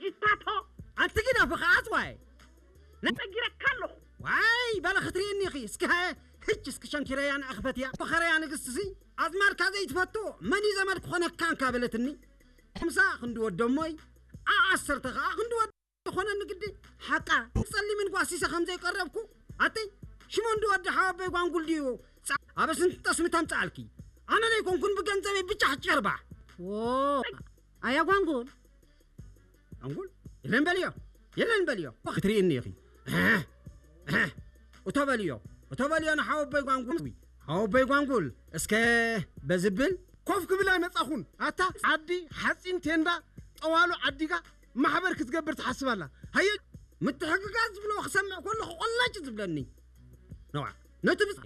ጅታቶ ኣንቲ ግደፊ ከዓት ዋይ ነጊረካ ኣለኹ። ዋይ በለ ክትርእኒ ኢኺ እስኪ ሃየ ህች እስኪ ሸንኪረያ ንኣኽፈትያ ፈኸረያ ንግስቲ ሲ ኣዝማድካ ዘይትፈቱ መን እዩ ዘመድ ክኾነካ እንካ በለትኒ። ሓምሳ ክንዲ ወደሞይ ኣብ ዓሰርተ ከዓ ክንዲ ወደ ዝኾነኒ ግዲ ሓቃ ጸሊምን ጓሲሰ ከም ዘይቀረብኩ ኣቲ ሽሞንዲ ወዲ ሓወበይ ጓንጉል ድዩ ጻ- ኣብ ስንት ጠስሚ ተምጻኣልኪ ኣነ ዘይኮንኩን ብገንዘበይ ብጫሕ ጨርባ ዎ ኣያ ጓንጉል ኣንጉል የለን በልዮ የለን በልዮ ክትርእኒ ኢኺ እቶ በልዮ እቶ በልዮ ንሓወበይ ጓንጉል ሓወበይ ጓንጉል እስከ በዝብል ኮፍ ክብል ኣይመጻኹን ኣታ ዓዲ ሓፂን ቴንዳ ጠዋሉ ዓዲጋ ማሕበር ክትገብር ትሓስብ ኣላ ሃየ ምትሕግጋዝ ዝብሎ ክሰምዕ ከለኹ ቆላጭ ዝብለኒ ነዋ ነቲ ብፅ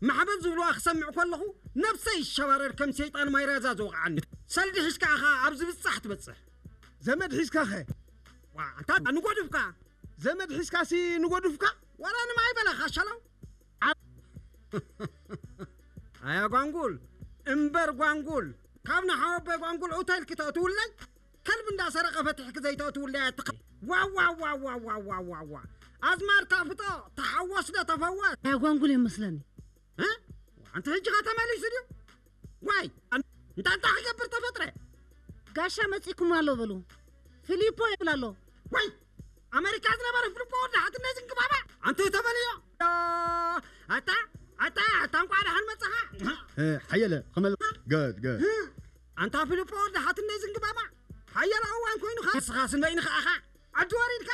ማሕበር ዝብልዋ ክሰምዕ ከለኹ ነብሰይ ይሸባረር ከም ሰይጣን ማይራዛ ዝወቕዓኒ ሰልዲ ሒዝካ ኢኻ ኣብዚ ብፃሕ ትበፅሕ ዘመድ ሒዝካ ኸ ዋ፣ ኣንታ ንጎድፍካ ዘመድ ሒዝካ ሲ ንጎድፍካ ዋላ ንማይ በለኻ ሸለው ኣያ ጓንጉል እምበር ጓንጉል ካብ ንሓወበይ ጓንጉል ኡተልኪ ተእትውለይ ከልቢ እንዳሰረቀ ፈትሕኪ ዘይተእትውለይ ኣትኸ ዋዋዋዋዋዋዋዋ ኣዝማድካ ፍጦ ተሓወስ ዶ ተፈወስ ኣያ ጓንጉል እዮም መስለኒ እ? ኣንቲ ሕጂ ኸ ተመሊሱ ድዩ ዋይ እንታይ እንታይ ክገብር ተፈጥረ ጋሻ መፂኩም ኣሎ በሉ ፊሊፖ ይብል ኣሎ ዋይ ኣሜሪካ ዝነበረ ፍልፎ ወዲ ሓትነይ ዝንግባባ ኣንተ ተበልዮ ኣታ ኣታ ኣታ እንኳዕ ደሓን መፅኻ ሓየለ ከመል ገድ ገድ ኣንታ ፍልፎ ወዲ ሓትነይ ዝንግባባ ሓየለ እዋን ኮይኑ ኸ ንስኻስ ንበይንኻ ኢኻ ዓዲ ወሪድካ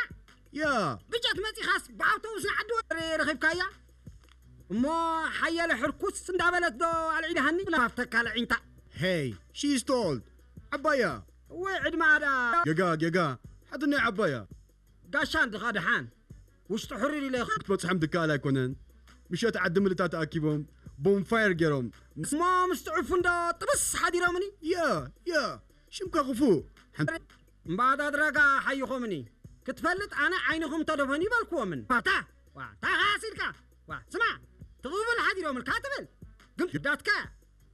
ያ ብጀት መፂኻስ ብኣውቶቡስ ንዓዲ ወሪ ረኺብካያ እሞ ሓየለ ሕርኩስ እንዳበለት ዶ ኣልዒድሃኒ ብላ ሃፍተካ ልዒንታ Hey, she's tall. ዓባያ ወይ ዕድማ ኣዳ ጌጋ ጌጋ ሓትነይ ዓባያ ጋሻ እንድኻ ድሓን ውሽጢ ሕሩር ኢለ ክትበፅሖም ድከኣል ኣይኮነን ምሸት ዓዲ ምልታ ተኣኪቦም ቦንፋየር ገይሮም እሞ ምስ ጥዑፉ እንዶ ጥብስ ሓዲሮምኒ ያ ያ ሽምካ ክፉእ ሓንቲ እምበኣዳድረጋ ሓይኾምኒ ክትፈልጥ ኣነ ዓይንኹም ተደፈኑ ይበልክዎምን ታ ታኻሲልካ ስማ ትቕብል ሓዲሮምልካ ትብል ግን ግዳትካ